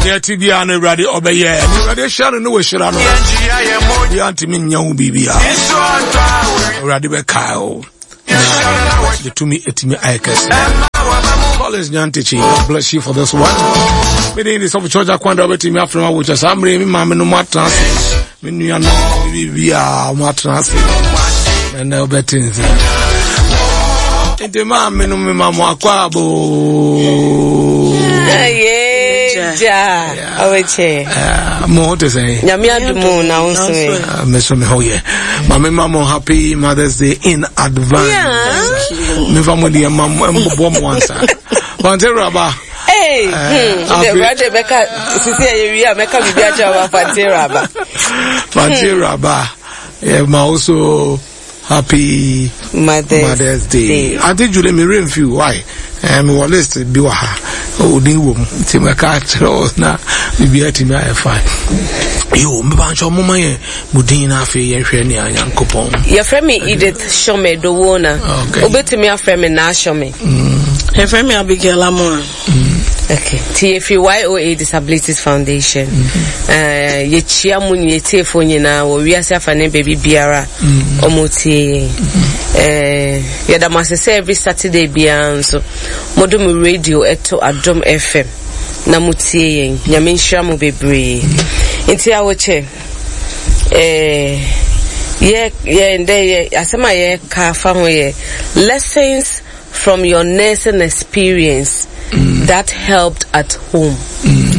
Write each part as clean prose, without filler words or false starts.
Deɛ ti biara no Awurade ɔbɛyɛ. Ne Awurade ahyira no ne wɔahyira no. Obiara ntumi nyɛ ho biribiara. Awurade bɛkae o. Na ne tumi atumi ayɛ kɛse. Collins Nyantakyi, God bless you for this one. Mede ne sɔfo church akwanda wobɛtumi afrɛ ma wokyɛ saa mmerɛ me maame no mu atena ase. Me nua no biribiara mo atena ase. Na ɛnɛ wobɛte nsɛ. Nti maame no mema mo akɔ abo. Gya awekyɛ. Mo ho te sɛn? Nyame adom na wo nso ɛ. Me so me ho yɛ. Maame ma mo happy Mother's Day in advance. Yeah. Mefa mo deɛ ma mo mbobɔ mo ansa. Fante raba. Hey, the brother bɛka sisi ɛyɛ wi a mɛka biribi akyerɛ wa Fante raba. Fante raba. Yeah, ma also happy Mother's, Mother's Day. Day. Auntie Julie, me rain few. Why? Me wɔ list bi wɔ ha. Odin wɔ mu. Nti mɛka akyerɛ wo na biribi atumi ayɛ fine. Yo, meba nkyɛ ɔmoma yɛ mo din na afei yɛnhwɛ nea Nyankopɔn. Yɛfrɛ me Edith Shome Dowona. Okay. Wobɛtumi afrɛ me Naa Shome. Yɛfrɛ me Abigail Amoah. Okay. Nti yɛfiri YOA Disabilities Foundation. Yɛkyia mo yɛtiefoɔ nyinaa wɔ wiase afa ne baabi biara ɔmo tie yɛn. Yɛda mo ase sɛ every Saturday biara nso mode mo radio ɛto Adom FM na mo tie yɛn. Nyame nhyira mo bebree. Nti awokyɛ yɛ yɛ ndɛ yɛ asɛm a yɛka afa ho yɛ lessons from your nursing experience that helped at home.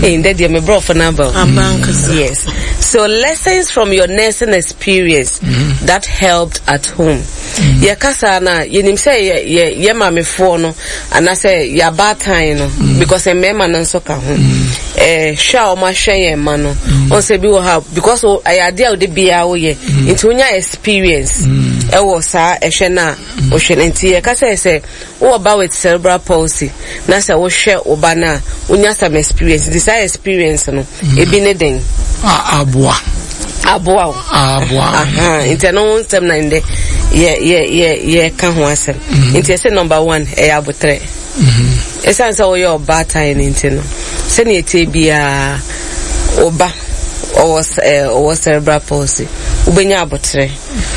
Hey, ndɛ deɛ me brɔfo no aba o. Aba ankasa. Yes. So lessons from your nursing experience that helped at home. Yɛka saa no a, yɛnim sɛ yɛ yɛ yɛ maamefoɔ no anaasɛ yɛ abaatan no because mmarima no nso ka ho. Hwɛ a wɔahwɛ yɛn mma no, wɔn sɛ bi wɔ ha because ɛyɛ adeɛ a wode biara woyɛ nti wonya experience ɛwɔ saa ɛhwɛ no a wohwɛ no nti yɛka sɛ sɛ wowɔ ba with cerebral palsy na sɛ wohwɛ wo ba no a wonya some experience nti saa experience no ebi ne den. Aboa. Aboa o. Aboa. Nti ɛno ho nsɛm na ndɛ yɛ yɛ yɛ yɛka ho asɛm. Nti yɛsɛ number one ɛyɛ abotrɛ. Ɛsiane sɛ woyɛ ɔbaatan no nti no sɛnea ɛteɛ biara wo ba ɔwɔ ɔwɔ cerebral palsy wobɛnya abotrɛ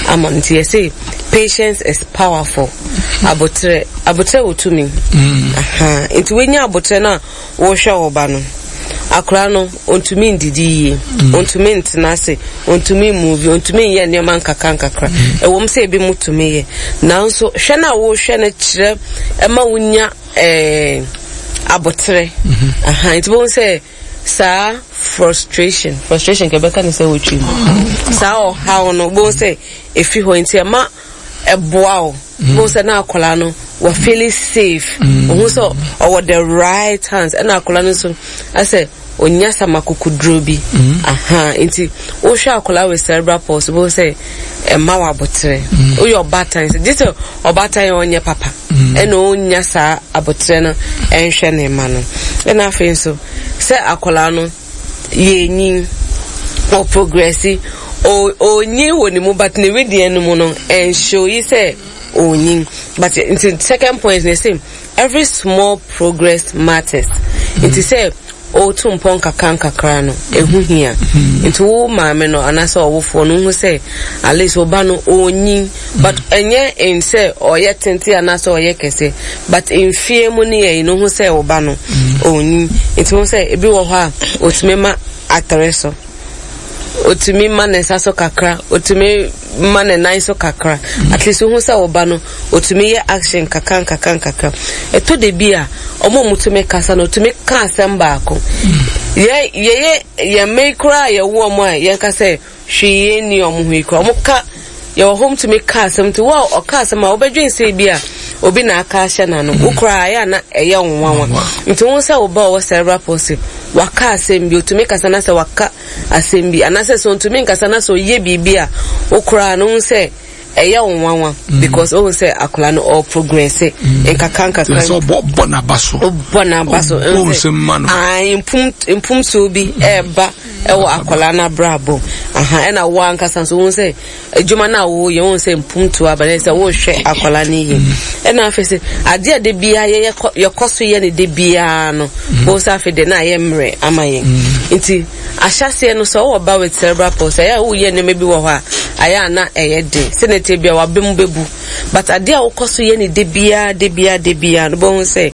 ama no nti yɛse patience is powerful. Abotrɛ abotrɛ wɔ tumi. Nti wonya abotrɛ no a wohwɛ wo ba no akora no ontumi ndidi yie, ontumi ntena ase, ontumi mmuvi, ontumi nyɛ nneɛma nkakra nkakra. Ɛwom sɛ ebi mu tumi yɛ, nanso hwɛ no a wohwɛ no kyerɛ ɛma wonya ɛɛ abotrɛ. Aha, nti bohu sɛ saa frustration, frustration kɛ bɛka ne sɛ wotwi mu. Saa ɔhaw no bohu sɛ efi hɔ nti ɛma ɛboa wo. Bohu sɛ na akwadaa no wɔ feeling safe. Ohun sɛ ɔwɔ the right hands ɛna akwadaa no nso asɛ onya sama kokoduro bi. Aha, nti wohwɛ akwadaa with cerebral palsy bohu sɛ ɛma wɔ abotrɛ. Woyɛ ɔbaatan sɛ gye sɛ ɔbaatan yɛ ɔnyɛ papa ɛna onya saa abotrɛ no ɛnhwɛ ne mma no. Ɛna afei nso sɛ akwadaa no yɛnyin ɔprogrɛsi onyin wɔ ne mu but ne wedeɛ no mu no ɛnhyɛ yi sɛ onyin but nti second point ne sɛ every small progress matters nti sɛ ɔretu mpɔn kakra nkakra no ɛho hia nti wo maame no anaasɛ ɔwofoɔ no wohu sɛ at least wo ba no ɔnyin but ɛnyɛ n sɛ ɔyɛ tenten anaasɛ ɔyɛ kɛse but mfie mu ne yɛyi no wohu sɛ wo ba no ɔnyin nti wohu sɛ ebi wɔ hɔ a ɔtumi ma atere so, ɔtumi ma ne nsa so kakra, ɔtumi ma ne nan so kakra. At least wohu sɛ wo ba no ɔtumi yɛ action kakra nkakra nkakra. Ɛtɔ da bi a ɔmo a ɔmotumi kasa no ɔtumi ka asɛm baako. Yɛ yɛyɛ yɛn mma yi koraa a yɛwo ɔmo a yɛnka sɛ hwee yɛn nni ɔmo ho yi koraa ɔmo ka yɛwɔ hɔ tumi ka asɛm nti wo a ɔka asɛm a wobɛdwen sɛ bi a obi na aka ahyɛ n'ano wo koraa ɛyɛ a na ɛyɛ wo nwanwa nti wo sɛ wo ba ɔwɔ cerebral palsy waka asɛm bi otumi kasa na sɛ waka asɛm bi anaasɛ sɛ ontumi nkasa na sɛ ɔyɛ biribi a wo koraa no wo sɛ Ɛyɛ wo nwanwa mm. because ohun sɛ akwadaa no ɔɔ progress mm. nkakra nkakra. Sɛ ɔbɔ ɔbɔ n'aba so. Ɔbɔ n'aba so. Ɔbɔ nsɛm ma no. Ayi mpum mpumtuo bi mm. ɛɛba ɛwɔ akwadaa n'abrabɔ aha ɛna wo ankasa nso ohun sɛ adwuma no a wɔyɛ ohun sɛ mpumtuo aba na sɛ wɔrehwɛ akwadaa no yie ɛna afei sɛ adeɛ a de biara yɛyɛ yɛkɔ so yɛ ne de biara no ohun sɛ afei de na ayɛ mmerɛ ama yɛn nti. Ahyɛaseɛ no, sɛ wowɔ ba with cerebral palsy a, ɛyɛ a woyɛ nneɛma bi wɔ hɔ a, ayɛ a na ɛyɛ den. Sɛnea ɛteɛ biara, w'aba mu bɛbu. But adeɛ a wokɔ so yɛ no da biara, da biara, da biara no, wobɛhu sɛ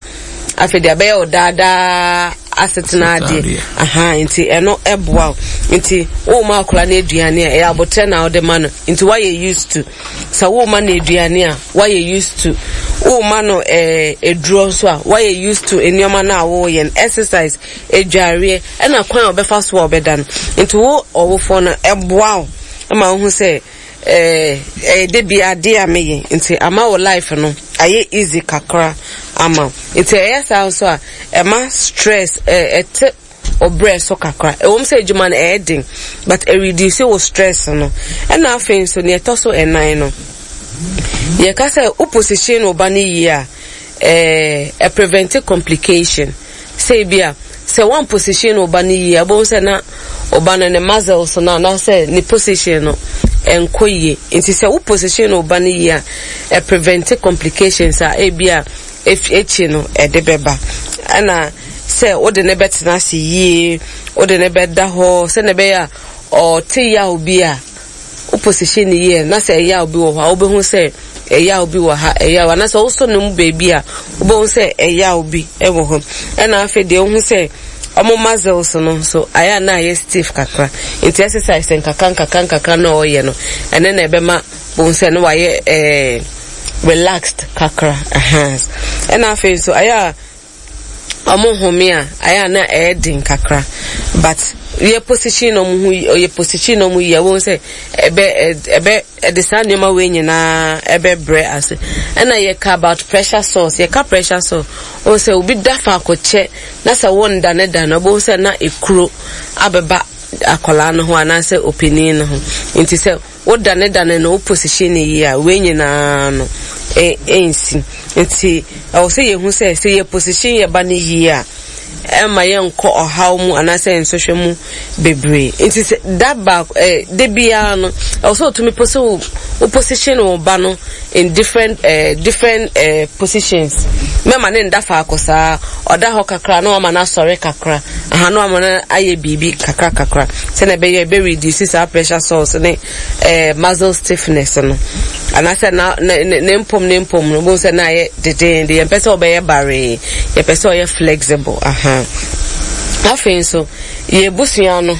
afei deɛ abɛyɛ wo daa daa asetena adeɛ. Aha, nti ɛno ɛboa wo. Nti woma akwadaa no aduane a, ɛyɛ abotrɛ na wode ma no. Nti woayɛ used to. Sɛ woma no aduane a, woayɛ used to. Woma no eh, aduro nso a, woayɛ used to nneɛma no a woyɛ no. Exercise, adwareɛ, ɛna kwan a ɔbɛfa so a ɔbɛda no. Nti wo ɔwofoɔ no, ɛboa wo ma wohu sɛ ɛɛ ɛyɛ da bi adeɛ a meyɛ nti ama wo life no ayɛ easy kakra ama wo. Nti ɛyɛ saa nso a, ɛma stress ɛɛ ɛte ɔbrɛ so kakra. Ɛwom sɛ adwuma no ɛyɛ den but ɛreduce wo stress no. Ɛna afei nso nea ɛtɔ so ɛnan no, yɛka sɛ wo position wo ba no yie a, ɛɛ ɛprevent complication. Sɛ ebia, sɛ woamposition wo ba no yie a, wobɛhu sɛ na wo ba no ne muscles no anaasɛ ne position no ɛnkɔ yie. Nti sɛ wo position wo ba no yie a, ɛprevent complications a ebia akyi no ɛde bɛba. Ɛna sɛ wode no bɛtena ase yie, wode no bɛda hɔ sɛnea ɛbɛyɛ a ɔte yaw bi a, wo position no yie na sɛ ɛyaw bi wɔ hɔ a wobɛhu sɛ ɛyaw bi wɔ ha ɛyaw anaasɛ wosɔ ne mu baabi a wobɛhu sɛ ɛyaw bi wɔ hɔ ɛna afei deɛ wohu sɛ ɔmo muscles no nso ayɛ a na ayɛ stiff kakra nti exercise nkakra nkakra nkakra na ɔyɛ no ɛne na ɛbɛma bohu sɛ no wayɛ ɛɛ relaxed kakra ɛna afei nso ayɛ a Ɔmo home a ayɛ a na ɛyɛ den kakra but yɛ position na ɔmo ho yɛ position na ɔmo yie a wɔn sɛ ɛbɛ ɛbɛ ɛde saa nneɛma wei nyinaa ɛbɛ brɛ ase ɛna yɛ ka about pressure sores yɛ ka pressure sore wɔn sɛ obi da faako kyɛ na sɛ wɔn da ne da no wɔn sɛ na ekuro abɛba akwadaa no ho anaasɛ opanin no ho nti sɛ Wo dane dane no wo position no yie a wei nyinaa no ɛnsi. Nti ɛwɔ sɛ yɛhu sɛ sɛ yɛ position yɛ ba no yie a ɛmma yɛnkɔ ɔhaw mu anaasɛ nsɔhwɛ mu bebree. Nti sɛ da baako ɛɛ da biara no ɛwɔ sɛ otumi pose wo wo position wo ba no in different eh, different eh, positions. Mɛma ne nda faako saa. Ɔda hɔ kakra na wama no asɔre kakra. Aha na wama no ayɛ biribi kakra kakra. Sɛnea ɛbɛyɛ ɛbɛ reduce saa pressure sores ne eh, muscle stiffness no. Anaasɛ na ne ne mpom ne mpom no, bohu sɛ na ayɛ dedeende. Yɛmpɛ sɛ ɔbɛyɛ baree. Yɛpɛ sɛ ɔyɛ flexible. Aha. Afei nso, yɛn abusua no,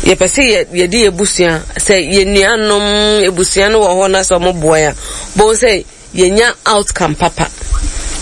yɛpɛ sɛ yɛ yɛde yɛn abusua sɛ yɛn nuanom abusua no wɔ hɔ na sɛ wɔn boa yɛn a bohu sɛ yɛnya outcome papa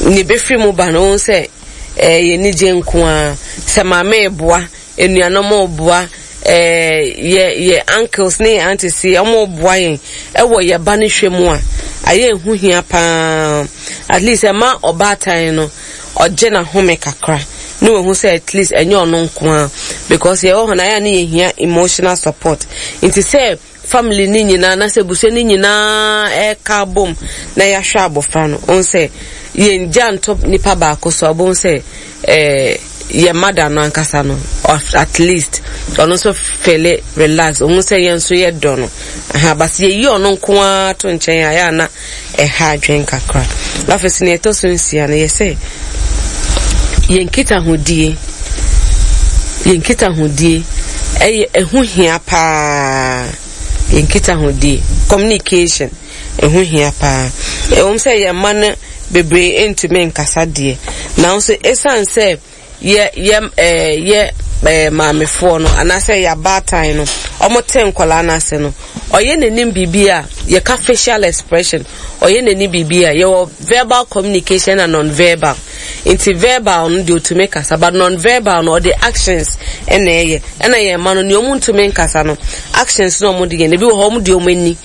nea ebɛfiri mu ba no wohu sɛ ɛɛ yɛn ani gye nko ara sɛ maame reboa anuanom reboa ɛɛ yɛ yɛ uncles ne yɛ aunties yi wɔn reboa yɛn ɛwɔ yɛ ba no hwɛ mu a ayɛ ehu hia paa at least ɛma ɔbaatan no. ɔgye n'ahome kakra na wahu sɛ at least ɛnyɛ ɔno nko ara because yɛwɔ hɔ no ayɛ a ne yɛhia emotional support nti sɛ family no nyinaa na sɛ abusua no nyinaa ɛka abom na yɛahwɛ abɔfra no ɔhu sɛ yɛn gya nto nipa baako so a ɔbɛhu sɛ ɛɛ yɛn mada no ankasa no at least ɔno nso fele relax ɔhu sɛ yɛn nso yɛ dɔ no aha basi yɛyi ɔno nko ara to nkyɛn a yɛ ana ɛha adwene kakra. Afei nso nea ɛtɔ so nsia no yɛ sɛ yɛn nkitahodie yɛn nkitahodie ɛyɛ ɛho hia paa yɛn nkitahodie communication ɛho hia paa ɛwom sɛ yɛn mma no bebree ntumi nkasa deɛ nanso ɛsiane sɛ yɛ yɛ ɛɛ yɛ ɛɛ maamefoɔ no anaasɛ yɛ abaatan no wɔn te nkwadaa no ase no ɔyɛ n'anim biribi a yɛka facial expression ɔyɛ n'anim biribi a yɛwɔ verbal communication na non-verbal nti verbal no deɛ otumi kasa but non-verbal no ɔde actions ɛna ɛyɛ ɛna yɛn mma no nea wɔn ntumi nkasa no actions na wɔn de yɛn ebi wɔ hɔ wɔn de wɔn ani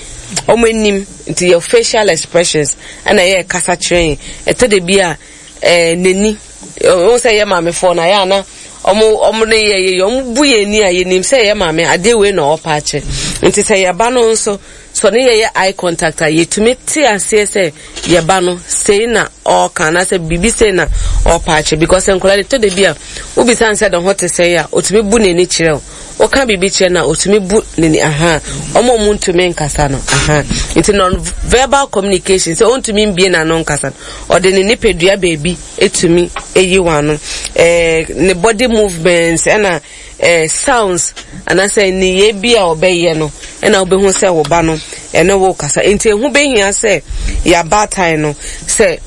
wɔn anim nti yɛ facial expressions ɛna ɛyɛ kasa kyerɛ yɛn ɛtɔ de bi a ɛɛ n'ani. Wohu sɛ yɛ maamefoɔ no ayɛ a na ɔmo ɔmo ne yɛ yɛ ɔmo bu yɛn ani a yɛnim sɛ yɛ maame adeɛ wei na ɔpa akyɛ. Nti sɛ yɛba no nso sɛ ɔne yɛyɛ eye contact a, yɛtumi te aseɛ sɛ yɛba no sei na ɔreka anaasɛ biribi sei na ɔrepa akyerɛ because nkwadaa de tɔ da bi a wobisa no sɛ ne ho te sɛn a ɔtumi bu n'ani kyerɛ wo woka biribi kyerɛ no a ɔtumi bu n'ani aha wɔn a wɔntumi nkasa no aha nti non verbal communication sɛ ɔntumi mbie n'ano nkasa no ɔde ne nipadua baabi etumi eyi wɔn ano ɛɛ ne body movements ɛna eh, sounds anaasɛ nneyɛe bi a ɔbɛyɛ no ɛna wobɛhu sɛ wo ba no ɛne wo kasa. Nti ɛho bɛhia sɛ yɛabaatan no sɛ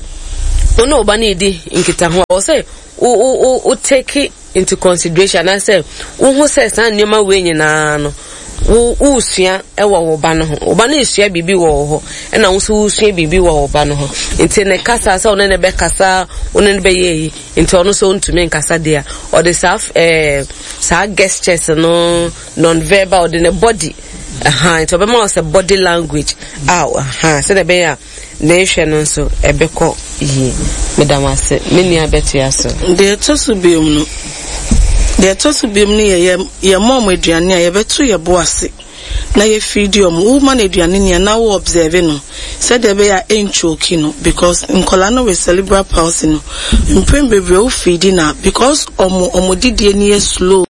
wo ne wo ba no redi nkitaho a, wɔ sɛ wo wo wo wo take into consideration anaasɛ wohu sɛ saa nneɛma wei nyinaa no wo wosua wɔ wo ba no ho. Wo ba no resua biribi wɔ wo hɔ ɛna wo nso wosua biribi wɔ wo ba no ho. Nti ne kasa sɛ wo ne no bɛkasa, wo ne no bɛyɛ yi. Nti ɔno nso ɔntumi nkasa deɛ a, ɔde saa ɛɛ saa gestures no non-verbal ɔde ne body ɛhan nti ɔbɛma wo sɛ body language a ɛhan sɛdeɛ ɛbɛyɛ a ne hwɛ no nso ɛbɛkɔ yie. Meda mo ase me nua bɛtoa so. Deɛ ɛtɔ so biom no, deɛ ɛtɔ so biom no yɛ yɛ yɛma wɔn aduane a yɛbɛto yɛn bo ase. na yɛ feedi ɔmo, wo ma no aduane ni a na wo observe no sɛdeɛ ɛbɛyɛ a ɛnchoki no because nkwadaa no with cerebral palsy no mprɛn bebree wo feedi no a because ɔmo ɔmo didie no yɛ slow.